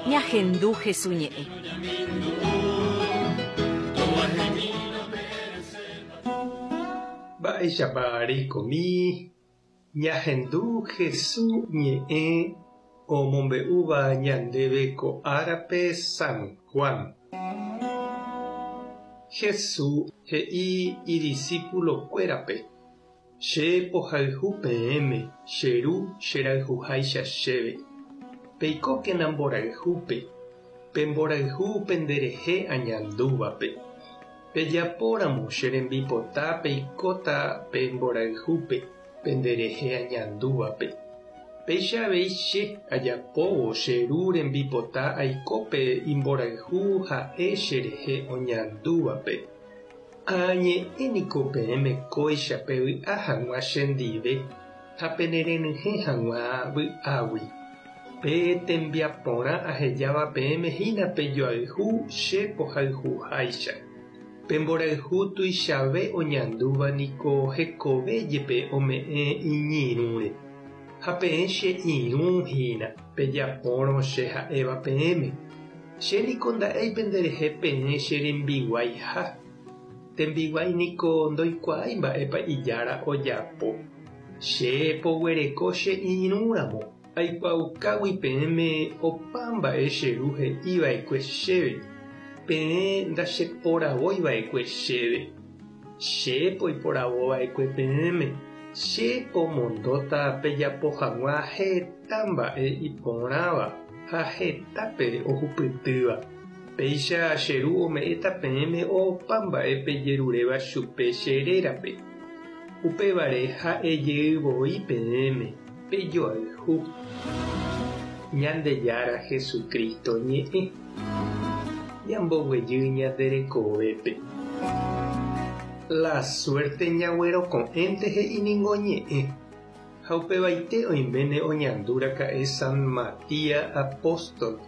Ñahendu Hesu ñe'ẽ. Mba'éichapa reikomi ñahendu Hesu ñe'ẽ omombe'úva ñandéve ko árape San Juan. Hesu he'i idisípulokuérape, Che pohayhu peẽme, che Ru cherayhuháicha chéve. Peikókena mborayhúpe, pe mborayhu penderehe añandúvape. Pejapóramo che rembipota peikóta pe mborayhúpe penderehe añandúvape. Péicha avei che ajapóvo che Ru rembipota aiko pe imborayhu ha'e cherehe oñandúvape. Añe'ẽ niko peẽme kóicha pevy'a hag̃ua chendive ha penerenyhẽ hag̃ua vy'águi. Pe tembiaporã ahejáva peẽme hína pejoayhu che pohayhuháicha. Pe mborayhu tuichave oñandúva niko hekove jepe ome'ẽ iñirũre. Ha peẽ che irũ hína, pejapórõ che ha'éva peẽme. Che niko nda'éi penderehe peẽ che rembiguaiha. Tembiguái niko ndoikuaái mba'épa ijára ojapo. Che poguereko che irũ ramo, aikuaaukágui peẽme opa mba'e che Ru he'i va'ekue chéve, peẽ ndacheporavói va'ekue chéve. Che poiporavo va'ekue peẽme, che pomondóta pejapo hag̃ua heta mba'e iporãva ha hetápe ohupytýva. Péicha che Ru ome'ẽta peẽme opa mba'e pejeruréva chupe che rérape. Upévare ha'e jey voi peẽme, pejoayhu. Ñandejára Jesucristo ñe'ẽ. Ñamboguejy ñande rekovépe. La suerte ñagueroko'ẽnte he'i ningo ñe'ẽ. Ha upevaite oiméne oñandu raka'e San Matías apóstol.